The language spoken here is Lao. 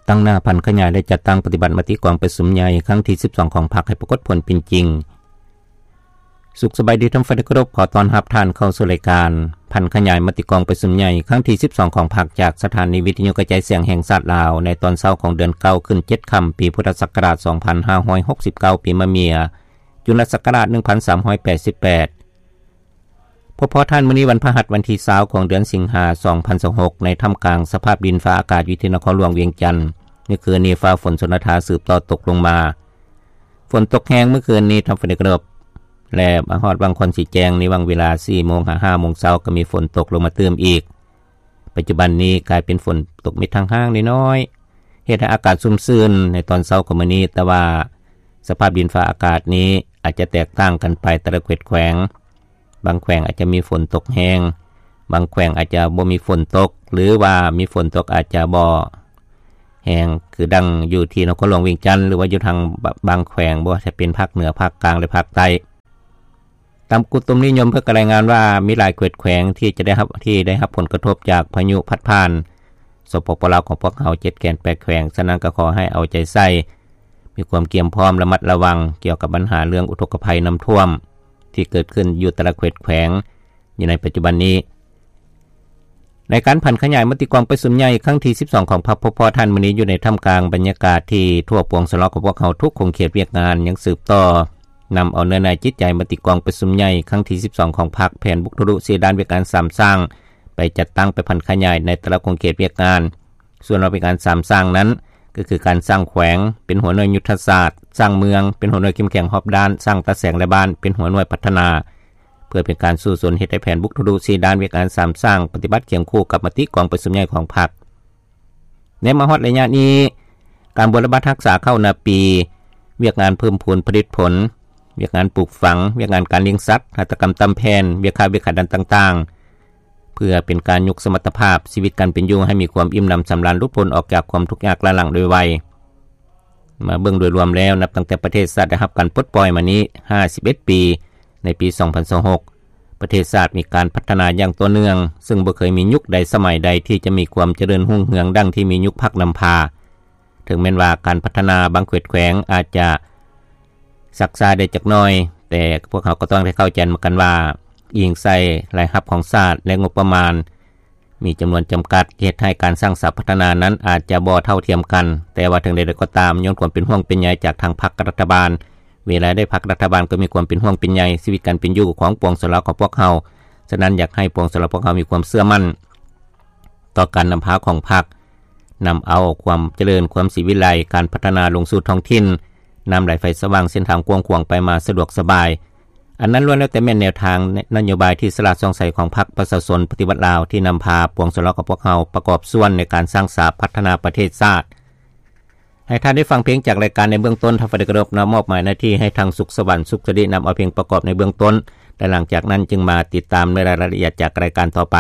ຕັ້ງໜ້າຜັນຂະຫຍາຍ ແລະ ຈັດຕັ້ງປະຕິບັດມະຕິກອງປະຊຸມໃຫຍ່ຄັ້ງທີສິບສອງຂອງພັກໃຫ້ປາກົດຜົນເປັນຈິງ. ສຸກສະບາຍດີທ່ານຜູ້ຟັງທີ່ເຄົາລົບ, ຂໍຕ້ອນຮັບທ່ານເຂົ້າສູ່ລາຍການຜັນຂະຫຍາຍມະຕິກອງປະຊຸມໃຫຍ່ຄັ້ງທີສິບສອງຂອງພັກ ຈາກສະຖານີວິທະຍຸກະຈາຍສຽງແຫ່ງຊາດລາວ ໃນຕອນເຊົ້າຂອງເດືອນເກົ້າ ຂຶ້ນເຈັດຄ່ຳ ປີພຸດທະສັກກະລາດສອງພັນຫ້າຮ້ອຍຫົກສິບເກົ້າ ປີມະເມຍ, ຈຸລະສັກກະລາດໜຶ່ງພັນສາມຮ້ອຍແປດສິບແປດ. ພົບພໍ້ທ່ານ ມື້ນີ້ວັນພະຫັດ ວັນທີຊາວ ຂອງເດືອນສິງຫາ ສອງພັນຊາວຫົກ ໃນທ່າມກາງສະພາບດິນຟ້າອາກາດຢູ່ທີ່ນະຄອນຫຼວງວຽງຈັນ. ມື້ຄືນນີ້ຟ້າຝົນຊົນລະທາສືບຕໍ່ຕົກລົງມາ. ຝົນຕົກແຮງມື້ຄືນນີ້ທ່ານຜູ້ຟັງທີ່ເຄົາລົບ ແລະ ມາຮອດວັງຄອນສີແຈງໃນວັງເວລາສີ່ໂມງຫາຫ້າໂມງເຊົ້າ ກໍມີຝົນຕົກລົງມາຕື່ມອີກ. ປັດຈຸບັນນີ້ກາຍເປັນຝົນຕົກເມັດທາງຫ້າງນ້ອຍໆ ເຮັດໃຫ້ອາກາດຊຸ່ມຊື່ນໃນຕອນເຊົ້າຂອງມື້ນີ້, ແຕ່ວ່າສະພາບດິນຟ້າອາກາດນີ້ອາດຈະແຕກຕ່າງກັນໄປແຕ່ລະເຂດແຂວງ. ບາງແຂວງອາດຈະມີຝົນຕົກແຮງ, ບາງແຂວງອາດຈະບໍ່ມີຝົນຕົກ ຫຼືວ່າມີຝົນຕົກອາດຈະບໍ່ແຮງ ຄືດັ່ງຢູ່ທີ່ນະຄອນຫຼວງວຽງຈັນ ຫຼືວ່າຢູ່ທາງບາງແຂວງ ບໍ່ວ່າຈະເປັນພາກເໜືອ, ພາກກາງ ແລະ ພາກໃຕ້. ຕາມການອຸຕຸນິຍົມເພິ່ນກໍລາຍງານວ່າ ມີຫຼາຍເຂດແຂວງທີ່ຈະໄດ້ຮັບ, ທີ່ໄດ້ຮັບຜົນກະທົບຈາກພາຍຸພັດຜ່ານ ສປປ ລາວຂອງພວກເຮົາ ເຈັດແຂວງ ແປດແຂວງ. ສະນັ້ນກໍຂໍໃຫ້ເອົາໃຈໃສ່, ມີຄວາມກຽມພ້ອມ, ລະມັດລະວັງກ່ຽວກັບບັນຫາເລື່ອງອຸທົກກະໄພນ້ຳຖ້ວມທີ່ເກີດຂຶ້ນຢູ່ແຕ່ລະເຂດແຂວງຢູ່ໃນປັດຈຸບັນນີ້. ໃນການຜັນຂະຫຍາຍມະຕິກອງປະຊຸມໃຫຍ່ຄັ້ງທີສິບສອງຂອງພັກ ພົບພໍ້ທ່ານ ມື້ນີ້ຢູ່ໃນທ່າມກາງບັນຍາກາດທີ່ທົ່ວປວງຊົນລາວຂອງພວກເຮົາທຸກຂົງເຂດວຽກງານຍັງສືບຕໍ່ນຳເອົາເນື້ອໃນຈິດໃຈມະຕິກອງປະຊຸມໃຫຍ່ຄັ້ງທີສິບສອງຂອງພັກ, ແຜນບຸກທະລຸສີ່ດ້ານວຽກງານສາມສ້າງ ໄປຈັດຕັ້ງ, ໄປຜັນຂະຫຍາຍໃນແຕ່ລະຂົງເຂດວຽກງານ. ສ່ວນວ່າວຽກງານສາມສ້າງນັ້ນ ກໍຄືການສ້າງແຂວງເປັນຫົວໜ່ວຍຍຸດທະສາດ, ສ້າງເມືອງເປັນຫົວໜ່ວຍເຂັ້ມແຂງຮອບດ້ານ, ສ້າງຕາແສງ ແລະ ບ້ານເປັນຫົວໜ່ວຍພັດທະນາ ເພື່ອເປັນການສູ້ຊົນເຮັດໃຫ້ແຜນບຸກທະລຸສີ່ດ້ານວຽກງານສາມສ້າງ ປະຕິບັດຄຽງຄູ່ກັບມະຕິກອງປະຊຸມໃຫຍ່ຂອງພັກ. ແນມມາຮອດໄລຍະນີ້, ການບົວລະບັດຮັກສາເຂົ້ານາປີ, ວຽກງານເພີ່ມພູນຜະລິດຜົນ, ວຽກງານປູກຝັງ, ວຽກງານການລ້ຽງສັດ, ຫັດຖະກຳຕ່ຳແຜ່ນ, ວຽກຄ້າວຽກຂາຍດ້ານຕ່າງໆ ເພື່ອເປັນການຍົກສະມັດຕະພາບຊີວິດການເປັນຢູ່ໃຫ້ມີຄວາມອີ່ມໜຳສຳລານ ຫຼຸດພົ້ນອອກຈາກຄວາມທຸກຍາກລ້າຫຼັງໂດຍໄວ. ມາເບິ່ງໂດຍລວມແລ້ວ, ນັບຕັ້ງແຕ່ປະເທດຊາດໄດ້ຮັບການປົດປ່ອຍມານີ້ຫ້າສິບເອັດປີ, ໃນປີສອງພັນຊາວຫົກ ປະເທດຊາດມີການພັດທະນາຢ່າງຕໍ່ເນື່ອງ, ເຊິ່ງບໍ່ເຄີຍມີຍຸກໃດສະໄໝໃດທີ່ຈະມີຄວາມຈະເລີນຮຸ່ງເຮືອງດັ່ງທີ່ມີຍຸກພັກນຳພາ. ເຖິງແມ່ນວ່າການພັດທະນາບາງເຂດແຂວງອາດຈະຊັກຊ້າໄດ້ຈັກໜ້ອຍ, ແຕ່ພວກເຮົາກໍຕ້ອງໄດ້ເຂົ້າໃຈນຳກັນວ່າ ອີງໃສ່ລາຍຮັບຂອງຊາດ ແລະ ງົບປະມານ ມີຈຳນວນຈຳກັດ ເຮັດໃຫ້ການສ້າງສາພັດທະນານັ້ນອາດຈະບໍ່ເທົ່າທຽມກັນ. ແຕ່ວ່າເຖິງໃດໆກໍຕາມ, ຍ້ອນຄວາມເປັນຫ່ວງເປັນໃຍຈາກທາງພັກກັບລັດຖະບານ, ເວລາໃດພັກກັບລັດຖະບານກໍມີຄວາມເປັນຫ່ວງເປັນໃຍຊີວິດການເປັນຢູ່ຂອງປວງຊົນລາວຂອງພວກເຮົາ. ສະນັ້ນ, ຢາກໃຫ້ປວງຊົນລາວພວກເຮົາມີຄວາມເຊື່ອໝັ້ນຕໍ່ການນຳພາຂອງພັກ, ນຳເອົາຄວາມຈະເລີນ, ຄວາມສີວິໄລ, ການພັດທະນາລົງສູ່ທ້ອງຖິ່ນ, ນ້ຳໄຫຼໄຟສະຫວ່າງ, ເສັ້ນທາງກວ້າງຂວາງ, ໄປມາສະດວກສະບາຍ. ອັນນັ້ນລ້ວນແລ້ວແຕ່ແມ່ນແນວທາງນະໂຍບາຍທີ່ສະຫຼາດສ່ອງໃສຂອງພັກປະຊາຊົນປະຕິວັດລາວ ທີ່ນຳພາປວງຊົນລາວຂອງພວກເຮົາປະກອບສ່ວນໃນການສ້າງສາພັດທະນາປະເທດຊາດ. ໃຫ້ທ່ານໄດ້ຟັງເພງຈາກລາຍການໃນເບື້ອງຕົ້ນ, ທ່ານ ຟາເດກຣອບ ນະມອບໝາຍໜ້າທີ່ໃຫ້ທາງສຸກສະຫວັນ ສຸກສະລິ ນຳເອົາເພງປະກອບໃນເບື້ອງຕົ້ນ ແລະ ຫຼັງຈາກນັ້ນຈຶ່ງມາຕິດຕາມໃນລາຍລະອຽດຈາກລາຍການຕໍ່ໄປ.